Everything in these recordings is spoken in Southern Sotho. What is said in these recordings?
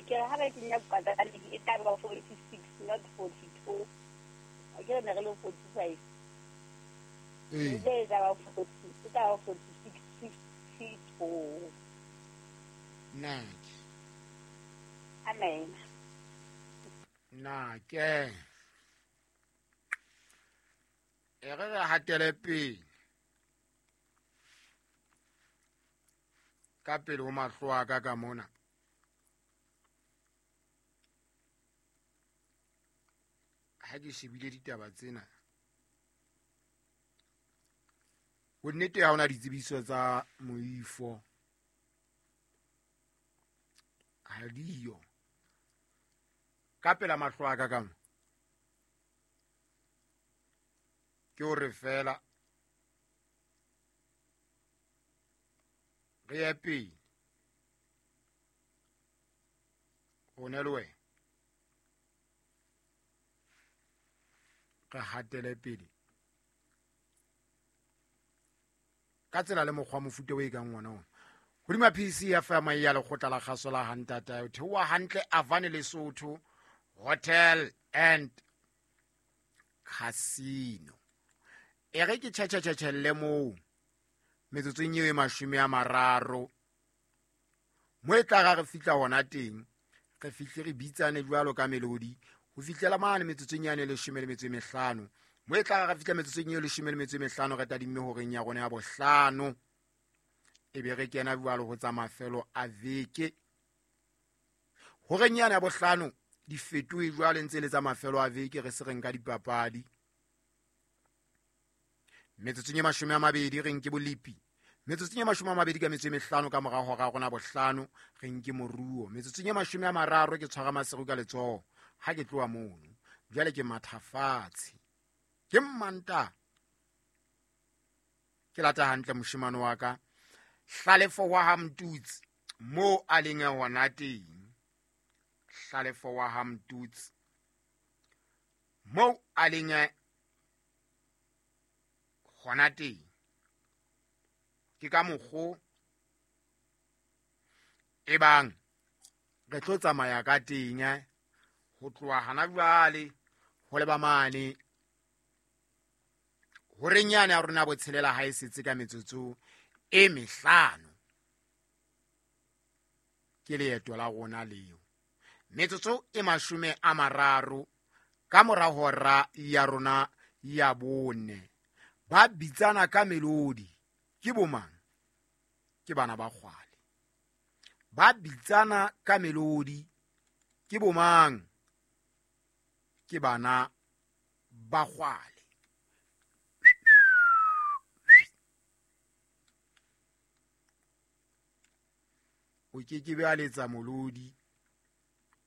Ke re ha ba kenya kwadratic e tla ba 46, not 42. Ke re ne re le 45. Ee. E tla ba 40, e tla ba 46, 52. Nake. Amen. Nake. E re re hatele pele. Ka pele ho mahlo a ka ka mona. Ha ke shebile ditaba tsena. Bonnete ha hona ditsebiso tsa moifo. Ha diyo. Ka pela mahlo a ka ka mo. Ke hore fela re ye pele. Rona le wena. Re hatele pele. Ka tsela le mokgwa mofuta o e kang wona ona. Hodima PC FM ya lekgotla la kgaso la Hantata, o theoha hantle Avane Lesotho Hotel and Casino. E re ke tjhetjhetjhelle moo metsotsong eo e 30. Mo e tla ra re fihla hona teng, re fihle re bitsane jwalo ka melodi ho fihlela mane metsotsong yane e 15. Mo e tla ra fihla metsotsong eo 15 re tadimme horeng ya rona ya bohlano. E be re kena jwalo ho tsa mafelo a veke. Horeng yane ya bohlano di fetohe jwale ntse le tsa mafelo a veke, re se re nka dipapadi. Metsotsong e 20 re nke bolepi. Metsotsong e 25 ka mora hora rona bohlano re nke moruo. Metsotsong e 30 ke tshwara Maseru ka letsoho ha ke tloha mono. Jwale ke mathafatshe. Ke mmanta. Ke lata hantle moshemane wa ka. Hlalefo wa ha Mtutsi mo a leng hona teng. Hlalefo wa ha Mtutsi mo a leng hona teng. Ke ka mokgo e bang re tlo tsamaya ka teng ho tloha hana jwale ho leba mane horeng yane ya rona botshelela ha e setse ka metsotso e mehlano. Ke leeto la rona leo. Metsotso e 30 ka mora hora ya rona ya bone. Ba bitsana ka melodi. Ke bomang? Ke bana ba kgwale. Ba bitsana ka melodi. Ke bomang? Ke bana ba kgwale. O ke ke be a letsa molodi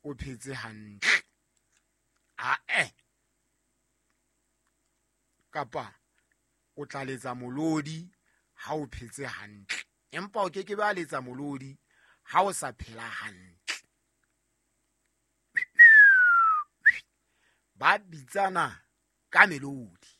o phetse hantle. Ae. Kapa o tla letsa molodi ha o phetse hantle. Empa o ke ke be a letsa molodi ha o sa phela hantle. Ba bitsana ka melodi.